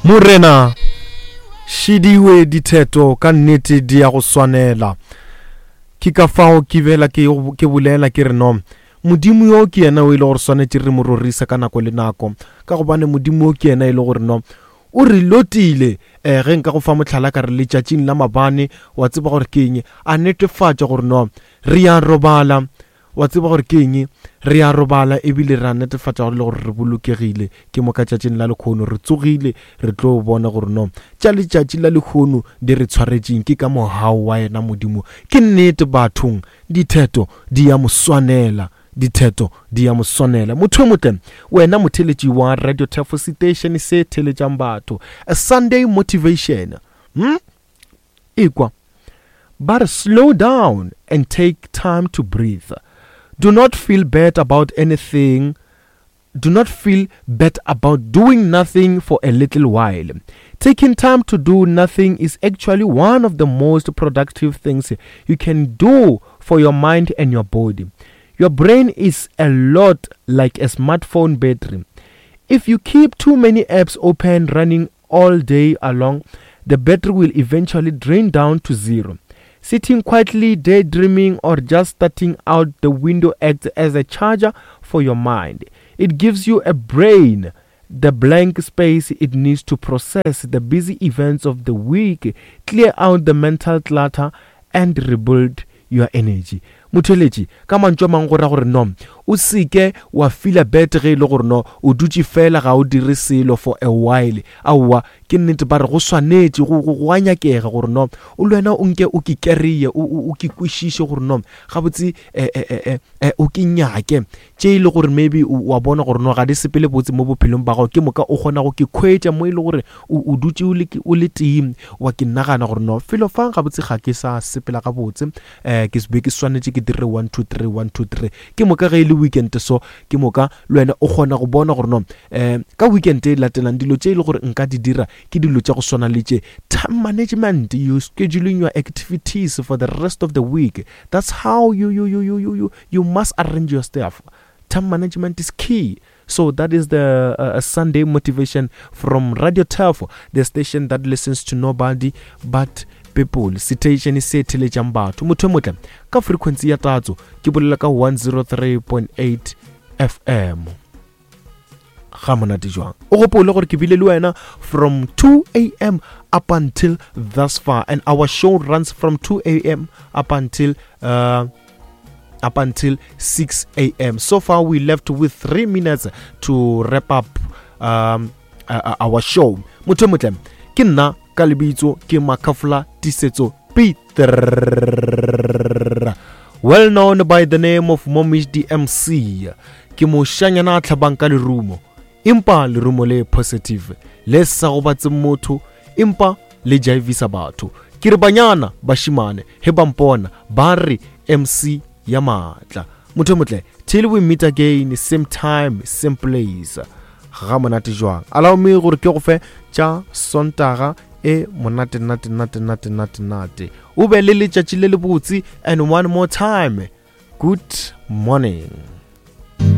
Morena, šidiwe ditheto ka nnete di ya go swanela. Ke ka fao ke bela ke, ke bolela ke re no, Modimo yo ke yena o e le gore swanetše re mo rorisa ka nako le nako, ka gobane Modimo yo ke yena e le gore no, o re lotile. Eh, ge nka go fa mohlala ka re letšatšing la mabane, wa tseba gore ke eng, a netefatša gore no, re ya robala, Wa tseba gore ke eng? Re a robala ebile re a netefatša gore le gore re bolokegile. Ke moka tšatšing la lekhono re tsogile re tlo bona gore no tša letšatši la lekhono di re tshwaretšeng. Ke ka mogau wa yena Modimo. Ke nnete bathong, ditheto di ya mo swanela. Ditheto di ya mo swanela. Motho yo motle, wena motheletši wa Radio Thefo seteišene se theletšang batho. A Sunday motivation. Hmm? Ekwa. Ba re slow down and take time to breathe. Do not feel bad about anything. Do not feel bad about doing nothing for a little while. Taking time to do nothing is actually one of the most productive things you can do for your mind and your body. Your brain is a lot like a smartphone battery. If you keep too many apps open running all day along, the battery will eventually drain down to zero. Sitting quietly, daydreaming, or just starting out the window acts as a charger for your mind. It gives you a brain the blank space it needs to process the busy events of the week, clear out the mental clutter, and rebuild your energy. Motheletši, ka mantšu a mangwe go ra gore no o seke wa feela bad ge e le gore no o dutše fela ga o dire selo for a while. Aowa, ke nnete ba re go swanetše, go, go, go a nyakega gore no o le wena o nke o ke kereye, o, o, o ke kwešiše gore no gabotse eh, eh, eh, eh, eh, o ke nyake tše e le gore maybe wa bona gore no ga di sepele botse mo bophelong ba gago, ke moka o kgona go ke khwetša mo e le gore o, o dutše o le, o le tee wa ke nagana gore no felo fa gabotse ga ke sa sepela gabotse. um ke be ke swanetše ke dire 1 2 3 1 2 3 ke moka ge e le weekend so ke moka le wena o kgona go bona gore no um ka weekend e latelang dilo tše e le gore nka di dira ke dilo tša go swana le tše. Time management, you scheduling your activities for the rest of the week. That's how you, you, you, you, you, you, you must arrange your stuff. Time management is key. So that is the uh, Sunday motivation from Radio Turf, the station that listens to nobody but people. Station se theletšang batho. Motho e motle ka frequency ya tatso ke bolela ka 103.8 FM. Ga monate jwang. O gopole gore ke bile le wena from 2 a.m. up until thus far, and our show runs from 2 a.m. up until uh, up until 6 a.m. So far, we left with 3 minutes to wrap up um, uh, uh our show. Motho motle, ke nna ka lebitso ke Makafula Tisetso Peter, well known by the name of Momish DMC. Ke moshanyana a tlhabang ka lerumo, empa lerumo le positive le sa gobatse motho, empa le jaivisa batho. Ke re banyana bashimane he ba mpona ba re MC ya maatla. Motho motle, till we meet again, same time, same place. Ga monate jwang. Allow me gore ke go fe tša Sontaga e monate nate nate nate nate nate. O be le letšatši le lebotse, and one more time, good morning.